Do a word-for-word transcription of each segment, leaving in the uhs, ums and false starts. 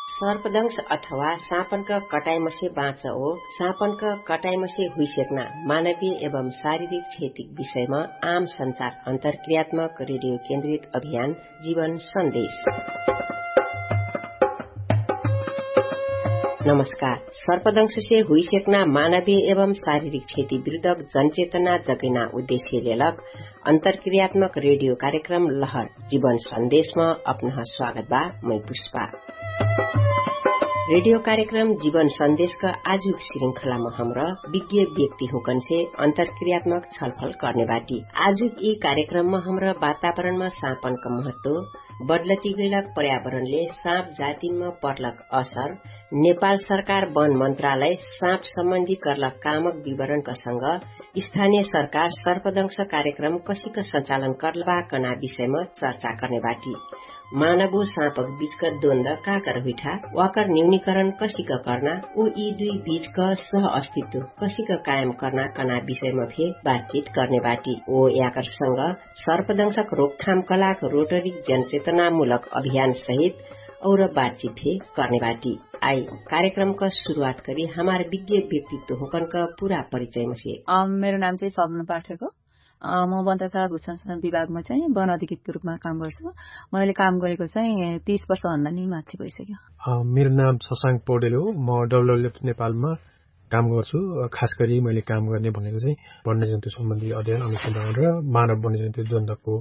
सर्पदंश अथवा साँपनक कटाइमसे बाँच ओ साँपनक कटाइमसे हुइसेक्ना मानवीय एवं शारीरिक क्षतिक विषयमा आम सञ्चार अन्तर्क्रियात्मक रेडियो केन्द्रित अभियान जीवन सन्देश। नमस्कार। सर्पदंशसे हुइसेक्ना मानवीय एवं शारीरिक क्षति विरुद्धक जनचेतना जगैना उद्देश्य लेलक अन्तर्क्रियात्मक रेडियो कार्यक्रम लहर जीवन सन्देशमा अपनह स्वागत बा। मै पुष्पा। रेडियो कार्यक्रम जीवन सन्देशक आजुक श्रृंखलामा हमरा विज्ञ व्यक्ति हुँकनसे अन्तर्क्रियात्मक छलफल कर्ने बाटी। आजुक यि कार्यक्रममा हमरा वातावरणमा साँपनक महत्व, बदलती गैलक पर्यावरणले साँप जातिनमा पर्लक असर, नेपाल सरकार वन मन्त्रालय साँप सम्बन्धी कर्लक कामक विवरणक संग स्थानीय सरकार सर्पदंश कार्यक्रम कसिक सञ्चालन कर्लबा कना विषयमा चर्चा कर्ने बाटी। मानव ओ साँपक बिचक द्वन्द काकर हुइठा, वाकर न्यूनीकरण कसिक कर्ना, उ यि दुइ बिचक सह अस्तित्व कसिक कायम कर्ना कना विषयमा फे बातचित कर्ने बाटी। ओ याकर संग सर्पदंशक रोकथाम कलाक रोटरिक जनचेतनामूलक अभियान सहित और बातचित फे कर्ने बाटी। आइ कार्यक्रमक सुरुवात करी हमार विज्ञ व्यक्तित्व हुँकनक पुरा परिचयमसे। मेरो नाम चाहिँ सपना पाठक हो। म वन तथा भूषण विभागमा चाहिँ वन अधिकृतको रूपमा काम गर्छु। मैले काम गरेको चाहिँ तीस वर्षभन्दा नि माथि भइसक्यो। मेरो नाम शशाङ्क पौडेल हो। म डब्लुडब्लुएफ नेपालमा काम गर्छु। खास गरी मैले काम गर्ने भनेको चाहिँ वन्यजन्तु सम्बन्धी अध्ययन अनुसन्धान र मानव वन्यजन्तु द्वन्द्वको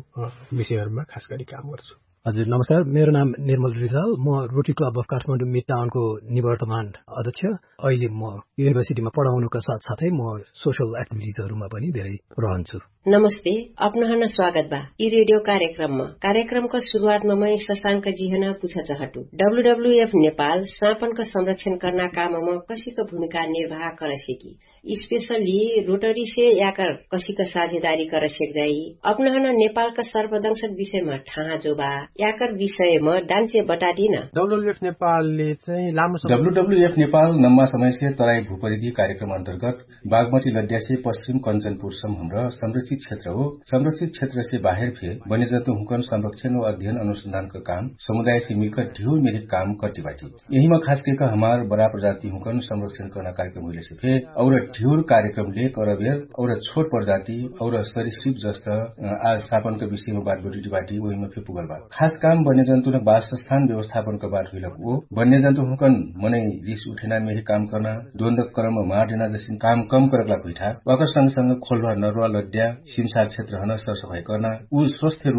विषयहरूमा खास गरी काम गर्छु। हजुर नमस्कार, मेरो नाम निर्मल रिजाल। म रोटरी क्लब अफ काठमाडौँ मिड टाउनको निवर्तमान अध्यक्ष। अहिले म युनिभर्सिटीमा पढाउनुका साथसाथै म सोसियल एक्टिभिटिजहरूमा पनि धेरै रहन्छु। नमस्ते, अपनहन स्वागत बा यि रेडियो कार्यक्रममा। कार्यक्रमका सुरुवातमा मै शशाङ्क जिहन पुछ चहटु, डब्लुडब्लुएफ नेपाल साँपनका संरक्षण कर्ना काममा कसिक भूमिका निर्वाह करसेकी, स्पेशली रोटरीसे याकर कसिक साझेदारी करसेक जाई? अपनहन नेपालका सर्पदंशक विषयमा ठाहा जोबा याकर विषयमा डान्चे बटादिन। डब्लुडब्लुएफ नेपालले चाहिँ लामो समय डब्लुडब्लुएफ नेपाल नम्मा समयसे तराई भूपरिधि कार्यक्रम अन्तर्गत बागमती लड्यासे पश्चिम कञ्चनपुरसम्म हमरा संरक्षित क्षेत्र हो। संरक्षित क्षेत्रसे बाहेर फे वन्यजन्तु हुँकन संरक्षण व अध्ययन अनुसन्धानका काम समुदायसे मिलकर ढिउर मेरिक काम कर्ति बाटी। यहिमा खास केक हमार बडा प्रजाति हुँकन संरक्षण कर्ना कार्यक्रम हुइलेसे फे और ढिउर कार्यक्रम लेक अरबेर और छोट प्रजाति और सरिश्रिप जस्त आज सापनका विषयमा बात बडिटी बाटी। ओहिमा फे पुगल बात खास काम वन्यजन्तु न बासस्थान व्यवस्थापनका बात हुइलक ओ वन्यजन्तु हुँकन मनै रिस उठेना मेहे काम कर्ना द्वन्द्व कर्म मार्डेना जसिन काम कम करकला कुइठा वाकर संग संग खोल्वा नर्वा लड्या सिमसार क्षेत्र हन सरसफाई कर्ना उ स्वस्थ